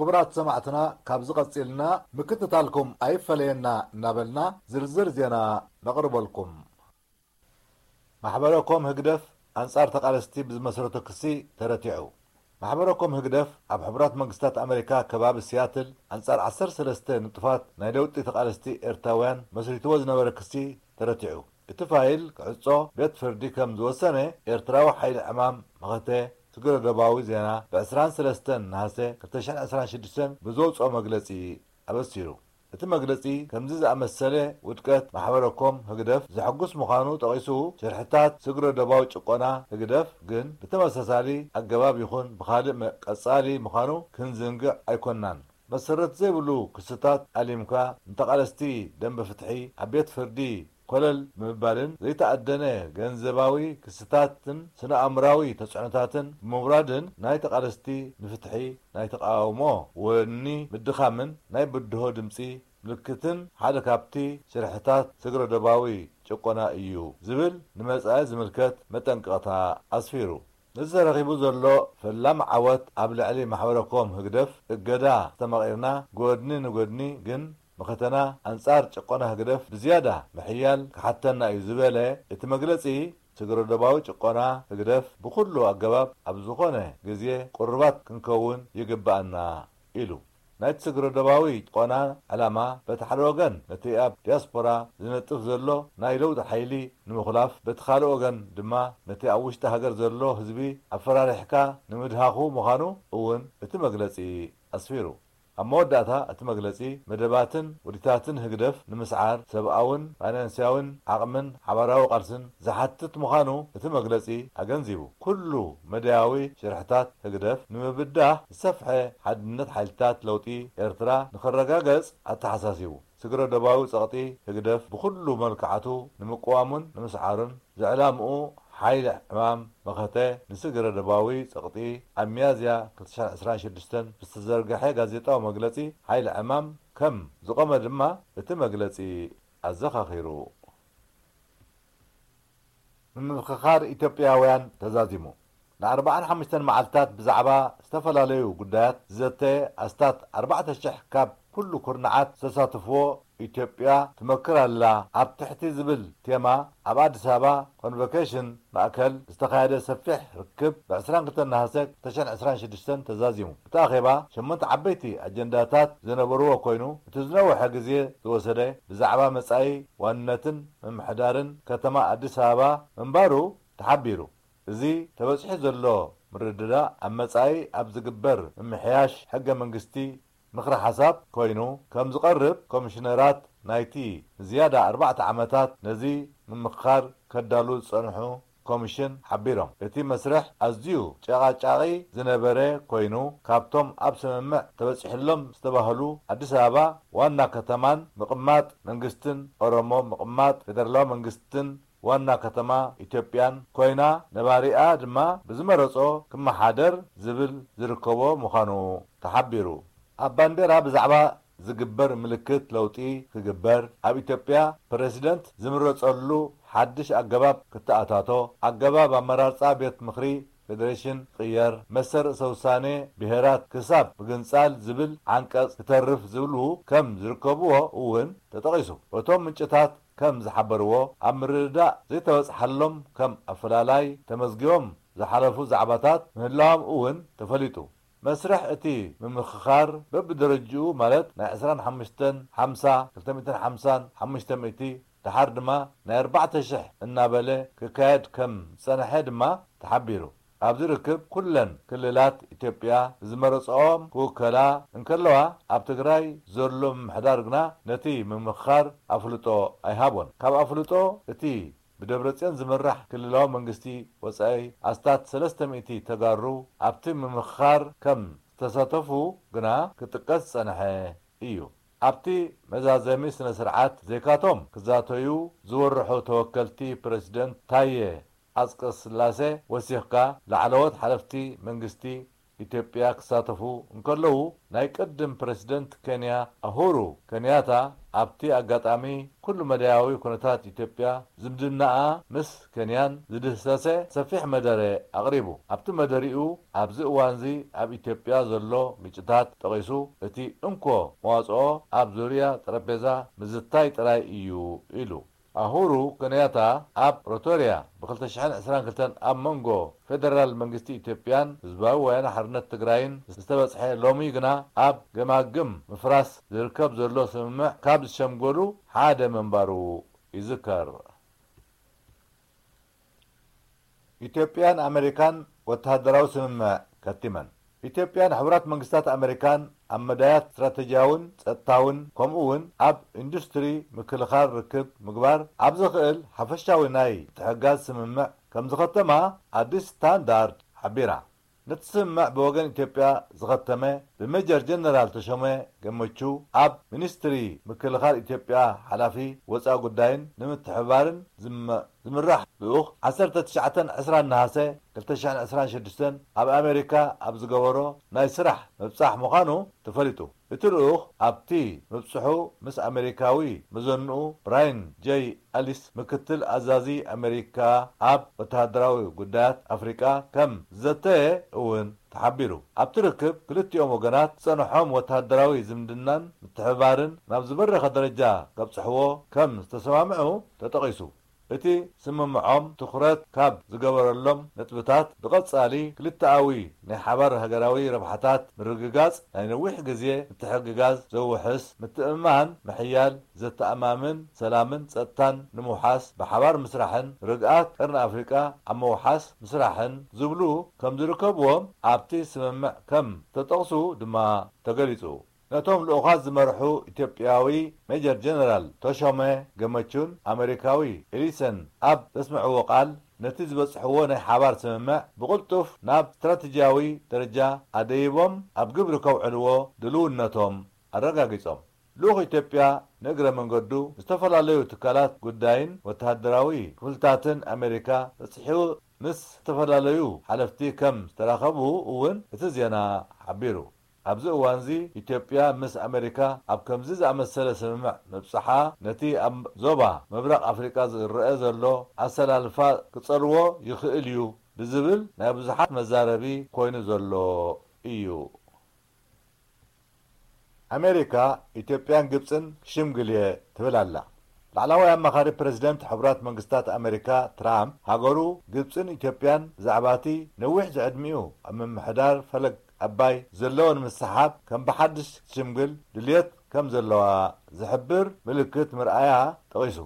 ክቡራት ሰማዕትና፣ ካብዚ ቀጺልና ምክትታልኩም ኣይፈለየና እናበልና ዝርዝር ዜና ነቕርበልኩም። ማሕበረ ኮም ህግደፍ ኣንጻር ተቓለስቲ ብዝመስረቶ ክሲ ተረቲዑ። ማሕበረ ኮም ህግደፍ ኣብ ሕቡራት መንግስታት ኣመሪካ ከባቢ ሲያትል ኣንጻር ዓሰርተ ሰለስተ ንጡፋት ናይ ለውጢ ተቓለስቲ ኤርትራውያን መስሪትዎ ዝነበረ ክሲ ተረቲዑ። እቲ ፋይል ክዕጾ ቤት ፍርዲ ከም ዝወሰነ ኤርትራዊ ሓይሊ ዕማም መኸተ ትግረ ዶባዊ ዜና ብ ዕስራን ሰለስተን ነሃሰ ክልተ ሽሕን ዕስራን ሽዱሽተን ብዘውጽኦ መግለጺ ኣበሲሩ። እቲ መግለጺ ከምዚ ዝኣመሰለ ውድቀት ማሕበረ ኮም ህግደፍ ዘሐጉስ ምዃኑ ጠቒሱ፣ ሽርሕታት ስግረ ዶባዊ ጭቆና ህግደፍ ግን ብተመሳሳሊ ኣገባብ ይኹን ብኻልእ መ-፣ ቀጻሊ ምዃኑ ክንዝንግዕ ኣይኮንናን። መሰረት ዘይብሉ ክስታት ኣሊምካ ንተቓለስቲ ደንበ ፍትሒ ኣብ ቤት ፍርዲ ኮለል ብምባልን ዘይተኣደነ ገንዘባዊ ክስታትን ስነ ኣእምራዊ ተጽዕኖታትን ብምውራድን ናይ ተቓለስቲ ንፍትሒ ናይ ተቓውሞ ወኒ ምድኻምን ናይ ብድሆ ድምጺ ምልክትን ሓደ ካብቲ ሽርሕታት ስግረ ዶባዊ ጭቆና እዩ ዝብል ንመጻኢ ዝምልከት መጠንቀቕታ ኣስፊሩ። ነዚ ተረኺቡ ዘሎ ፈላሚ ዓወት ኣብ ልዕሊ ማሕበረ ኮም ህግደፍ እገዳ ዝተመቒርና ጎድኒ ንጎድኒ ግን መኸተና ኣንጻር ጭቆና ህግደፍ ብዝያዳ ምሕያል ክሓተና እዩ ዝበለ እቲ መግለጺ፣ ስግረ ዶባዊ ጭቆና ህግደፍ ብኹሉ ኣገባብ ኣብ ዝኾነ ግዜ ቁሩባት ክንከውን ይግብኣና ኢሉ። ናይቲ ስግረ ዶባዊ ጭቆና ዕላማ በቲ ሓደ ወገን ነቲ ኣብ ዲያስፖራ ዝነጥፍ ዘሎ ናይ ለውጢ ሓይሊ ንምኹላፍ፣ በቲ ካልእ ወገን ድማ ነቲ ኣብ ውሽጢ ሃገር ዘሎ ህዝቢ ኣፈራሪሕካ ንምድሃኹ ምዃኑ እውን እቲ መግለጺ ኣስፊሩ። ኣብ መወዳእታ እቲ መግለጺ፣ መደባትን ውዲታትን ህግደፍ ንምስዓር ሰብኣውን ፋይናንስያውን ዓቕምን ሓባራዊ ቃልስን ዝሓትት ምዃኑ እቲ መግለጺ ኣገንዚቡ። ኩሉ መዳያዊ ሽርሕታት ህግደፍ ንምብዳህ ዝሰፍሐ ሓድነት ሓይልታት ለውጢ ኤርትራ ንኽረጋገጽ ኣተሓሳሲቡ። ስግረ ዶባዊ ጸቕጢ ህግደፍ ብኹሉ መልክዓቱ ንምቅዋሙን ንምስዓሩን ዝዕላምኡ ሓይሊ ዕማም መኸተ ንስግረ ዶባዊ ጸቕጢ ኣብ ሚያዝያ ክልተ ሽሕን ዕስራን ሽዱሽተን ብዝተዘርግሐ ጋዜጣዊ መግለጺ ሓይሊ ዕማም ከም ዝቖመ ድማ እቲ መግለጺ ኣዘኻኺሩ። ምምኽኻር ኢትዮጵያውያን ተዛዚሙ። ንኣርባዓን ሓሙሽተን መዓልታት ብዛዕባ ዝተፈላለዩ ጉዳያት ዝዘተየ ኣስታት ኣርባዕተ ሽሕ ካብ ኩሉ ኩርናዓት ዝተሳተፍዎ ኢትዮጵያ ትመክር ኣላ ኣብ ትሕቲ ዝብል ቴማ ኣብ ኣዲስ ኣበባ ኮንቮኬሽን ማእከል ዝተኻየደ ሰፊሕ ርክብ ብ ዕስራን ክልተን ነሃሰ ክልተ ሽሕን ዕስራን ሽዱሽተን ተዛዚሙ። እቲ ኣኼባ ሸሞንተ ዓበይቲ ኣጀንዳታት ዝነበርዎ ኮይኑ፣ እቲ ዝነውሐ ግዜ ዝወሰደ ብዛዕባ መጻኢ ዋንነትን ምምሕዳርን ከተማ ኣዲስ ኣበባ ምንባሩ ተሓቢሩ። እዚ ተበጺሑ ዘሎ ምርድዳእ ኣብ መጻኢ ኣብ ዝግበር ምምሕያሽ ሕገ መንግስቲ ምኽረ ሓሳብ ኮይኑ ከም ዝቐርብ ኮሚሽነራት ናይቲ ንዝያዳ ኣርባዕተ ዓመታት ነዚ ምምኽኻር ከዳሉ ዝጸንሑ ኮሚሽን ሓቢሮም። እቲ መስርሕ ኣዝዩ ጨቓጫቒ ዝነበረ ኮይኑ፣ ካብቶም ኣብ ስምምዕ ተበጺሕሎም ዝተባህሉ ኣዲስ ኣበባ ዋና ከተማን ምቕማጥ መንግስትን ኦሮሞ ምቕማጥ ፌደራላዊ መንግስትን ዋና ከተማ ኢትዮጵያን ኮይና፣ ነባሪኣ ድማ ብዝመረጾ ክመሓደር ዝብል ዝርከቦ ምዃኑ ተሓቢሩ። ኣብ ባንዴራ ብዛዕባ ዝግበር ምልክት ለውጢ ክግበር፣ ኣብ ኢትዮጵያ ፕረሲደንት ዝምረጸሉ ሓድሽ ኣገባብ ክተኣታቶ፣ ኣገባብ ኣመራርጻ ቤት ምኽሪ ፌደሬሽን ክቕየር፣ መሰል ርእሰ ውሳኔ ብሄራት ክሳብ ምግንጻል ዝብል ዓንቀጽ ክተርፍ ዝብሉ ከም ዝርከብዎ እውን ተጠቒሱ። በቶም ምንጭታት ከም ዝሓበርዎ፣ ኣብ ምርድዳእ ዘይተበጽሓሎም ከም ኣፈላላይ ተመዝጊቦም ዝሓለፉ ዛዕባታት ምህላዎም እውን ተፈሊጡ። መስርሕ እቲ ምምኽኻር በብደረጅኡ ማለት ናይ ዕስራን ሓሙሽተን ሓምሳ፣ ክልተ ሚእትን ሓምሳን ሓሙሽተ ሚእቲ፣ ደሓር ድማ ናይ ኣርባዕተ ሽሕ እናበለ ክካየድ ከም ዝጸንሐ ድማ ተሓቢሩ። ኣብዚ ርክብ ኩለን ክልላት ኢትዮጵያ ዝመረጽኦም ክውከላ እንከለዋ፣ ኣብ ትግራይ ዘሎ ምምሕዳር ግና ነቲ ምምኽኻር ኣፍልጦ ኣይሃቦን። ካብ ኣፍልጦ እቲ ብደብረጽዮን ዝምራሕ ክልላዊ መንግስቲ ወጻኢ ኣስታት ሰለስተ ሚእቲ ተጋሩ ኣብቲ ምምኽኻር ከም ዝተሳተፉ ግና ክጥቀስ ዝጸንሐ እዩ። ኣብቲ መዛዘሚ ስነ ስርዓት ዘይካቶም ክዛተዩ ዝወርሑ ተወከልቲ ፕረሲደንት ታየ ኣጽቀስላሴ ወሲኽካ ላዕለዎት ሓለፍቲ መንግስቲ ኢትዮጵያ ክሳተፉ እንከለዉ፣ ናይ ቅድም ፕረሲደንት ኬንያ ኣሁሩ ከንያታ ኣብቲ ኣጋጣሚ ኩሉ መዳያዊ ኩነታት ኢትዮጵያ፣ ዝምድናኣ ምስ ኬንያን ዝድህሰሰ ሰፊሕ መደረ ኣቕሪቡ። ኣብቲ መደሪኡ ኣብዚ እዋንዚ ኣብ ኢትዮጵያ ዘሎ ግጭታት ጠቒሱ፣ እቲ እንኮ መዋጽኦ ኣብ ዙርያ ጠረጴዛ ምዝታይ ጥራይ እዩ ኢሉ። ኣሁሩ ከንያታ ኣብ ፕሪቶርያ ብ ክልተ ሽሕን ዕስራን ክልተን ኣብ መንጎ ፌደራል መንግስቲ ኢትዮጵያን ህዝባዊ ወያነ ሓርነት ትግራይን ዝተበጽሐ ሎሚ ግና ኣብ ገማግም ምፍራስ ዝርከብ ዘሎ ስምምዕ ካብ ዝሸምገሉ ሓደ ምንባሩ ይዝከር። ኢትዮጵያን ኣመሪካን ወተሃደራዊ ስምምዕ ከቲመን። ኢትዮጵያን ሕቡራት መንግስታት ኣመሪካን ኣብ መዳያት ስትራተጂያውን ጸጥታውን ከምኡ እውን ኣብ ኢንዱስትሪ ምክልኻል ርክብ ምግባር ኣብ ዘኽእል ሓፈሻዊ ናይ ምትሕግጋዝ ስምምዕ ከም ዝኸተማ ኣዲስ ስታንዳርድ ሓቢራ። ነቲ ስምምዕ ብወገን ኢትዮጵያ ዝኸተመ ብሜጀር ጀነራል ተሾመ ገመቹ ኣብ ሚኒስትሪ ምክልኻል ኢትዮጵያ ሓላፊ ወፃኢ ጉዳይን ንምትሕብባርን ዝመ ዝምራሕ ልኡኽ ዓሰርተ ትሽዓተን ዕስራን ነሃሰ ክልተ ሽሕን ዕስራን ሽዱሽተን ኣብ ኣሜሪካ ኣብ ዝገበሮ ናይ ስራሕ ምብጻሕ ምዃኑ ተፈሊጡ። እቲ ልኡኽ ኣብቲ ምብጽሑ ምስ ኣሜሪካዊ መዘንኡ ብራይን ጀይ ኣሊስ ምክትል ኣዛዚ ኣሜሪካ ኣብ ወተሃደራዊ ጉዳያት ኣፍሪቃ ከም ዝዘተየ እውን ተሓቢሩ። ኣብቲ ርክብ ክልቲኦም ወገናት ዝጸንሖም ወተሃደራዊ ዝምድናን ምትሕብባርን ናብ ዝበረኸ ደረጃ ከብጽሕዎ ከም ዝተሰማምዑ ተጠቒሱ። እቲ ስምምዖም ትኹረት ካብ ዝገበረሎም ነጥብታት ብቐጻሊ ክልተኣዊ ናይ ሓባር ሃገራዊ ረብሓታት ምርግጋጽ፣ ናይ ነዊሕ ግዜ ምትሕግጋዝ ዘውሕስ ምትእምማን ምሕያል፣ ዘተኣማምን ሰላምን ጸጥታን ንምውሓስ ብሓባር ምስራሕን ርግኣት ቀርኒ ኣፍሪቃ ኣብ ምውሓስ ምስራሕን ዝብሉ ከም ዝርከብዎም ኣብቲ ስምምዕ ከም ዝተጠቕሱ ድማ ተገሊጹ። ነቶም ልኡኻት ዝመርሑ ኢትዮጵያዊ ሜጀር ጀነራል ተሾመ ገመቹን ኣመሪካዊ ኤሊሰን ኣብ ዘስምዕዎ ቃል፣ ነቲ ዝበጽሕዎ ናይ ሓባር ስምምዕ ብቕልጡፍ ናብ ስትራተጂያዊ ደረጃ ኣደይቦም ኣብ ግብሪ ከውዕልዎ ድልውነቶም ኣረጋጊጾም። ልኡኽ ኢትዮጵያ ንእግረ መንገዱ ዝተፈላለዩ ትካላት ጉዳይን ወተሃደራዊ ክፍልታትን ኣሜሪካ በጺሑ ምስ ዝተፈላለዩ ሓለፍቲ ከም ዝተራኸቡ እውን እቲ ዜና ሓቢሩ። ኣብዚ እዋንዚ ኢትዮጵያ ምስ ኣሜሪካ ኣብ ከምዚ ዝኣመሰለ ስምምዕ ምብጽሓ ነቲ ኣብ ዞባ ምብራቕ ኣፍሪቃ ዝረአ ዘሎ ኣሰላልፋ ክጸልዎ ይኽእል እዩ ብዝብል ናይ ብዙሓት መዛረቢ ኮይኑ ዘሎ እዩ። ኣሜሪካ ኢትዮጵያን ግብጽን ክሽምግል እየ ትብል ኣላ። ላዕላዋይ ኣማኻሪ ፕረዚደንት ሕቡራት መንግስታት ኣሜሪካ ትራምፕ፣ ሃገሩ ግብጽን ኢትዮጵያን ብዛዕባ እቲ ነዊሕ ዝዕድሚኡ ኣብ ምምሕዳር ፈለግ ኣባይ ዘለዎ ንምስሓብ ከም ብሓድሽ ክትሽምግል ድልየት ከም ዘለዋ ዝሕብር ምልክት ምርኣያ ጠቒሱ።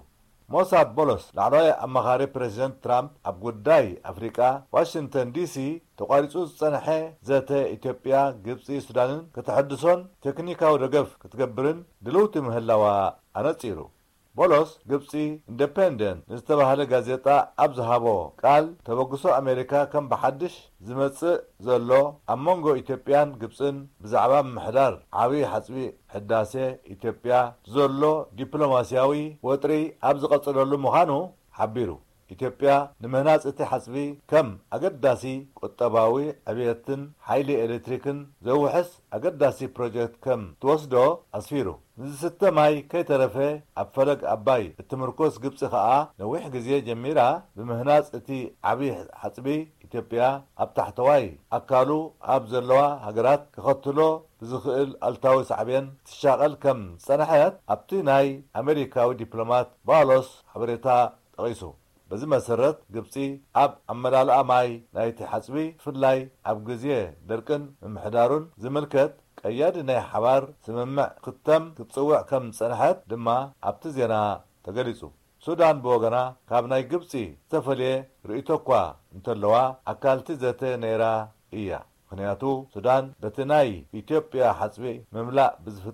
ሞሳብ ቦሎስ፣ ላዕለዋይ ኣማኻሪ ፕረዚደንት ትራምፕ ኣብ ጉዳይ ኣፍሪቃ፣ ዋሽንግተን ዲሲ ተቋሪጹ ዝጸንሐ ዘተ ኢትዮጵያ፣ ግብጺ፣ ሱዳንን ከተሐድሶን ቴክኒካዊ ደገፍ ክትገብርን ድልውቲ ምህላዋ ኣነጺሩ። ቦሎስ፣ ግብጺ ኢንደፐንደንት ንዝተባህለ ጋዜጣ ኣብ ዝሃቦ ቃል፣ ተበግሶ ኣሜሪካ ከም ብሓድሽ ዝመጽእ ዘሎ ኣብ መንጎ ኢትዮጵያን ግብጽን ብዛዕባ ምምሕዳር ዓብዪ ሓጽቢ ሕዳሴ ኢትዮጵያ ዘሎ ዲፕሎማስያዊ ወጥሪ ኣብ ዝቐጸለሉ ምዃኑ ሓቢሩ። ኢትዮጵያ ንምህናጽ እቲ ሓጽቢ ከም ኣገዳሲ ቁጠባዊ ዕብየትን ሓይሊ ኤሌክትሪክን ዘውሕስ ኣገዳሲ ፕሮጀክት ከም ትወስዶ ኣስፊሩ። ንዝስተ ማይ ከይተረፈ ኣብ ፈለግ ኣባይ እትምርኮስ ግብጺ ከኣ ነዊሕ ግዜ ጀሚራ ብምህናጽ እቲ ዓቢ ሓጽቢ ኢትዮጵያ ኣብ ታሕተዋይ ኣካሉ ኣብ ዘለዋ ሃገራት ከኸትሎ ብዝኽእል ኣሉታዊ ሳዕቤን ትሻቐል ከም ዝጸንሐት ኣብቲ ናይ ኣመሪካዊ ዲፕሎማት ባሎስ ሓበሬታ ጠቒሱ። በዚ መሰረት፣ ግብጺ ኣብ ኣመላልኣ ማይ ናይቲ ሓጽቢ፣ ብፍላይ ኣብ ግዜ ደርቅን ምምሕዳሩን ዝምልከት ቀያዲ ናይ ሓባር ስምምዕ ክተም ክትጽውዕ ከም ዝጸንሐት ድማ ኣብቲ ዜና ተገሊጹ። ሱዳን ብወገና፣ ካብ ናይ ግብጺ ዝተፈልየ ርእይቶ እኳ እንተለዋ፣ ኣካልቲ ዘተ ነይራ እያ። ምኽንያቱ፣ ሱዳን በቲ ናይ ኢትዮጵያ ሓጽቢ ምምላእ ብዝፍ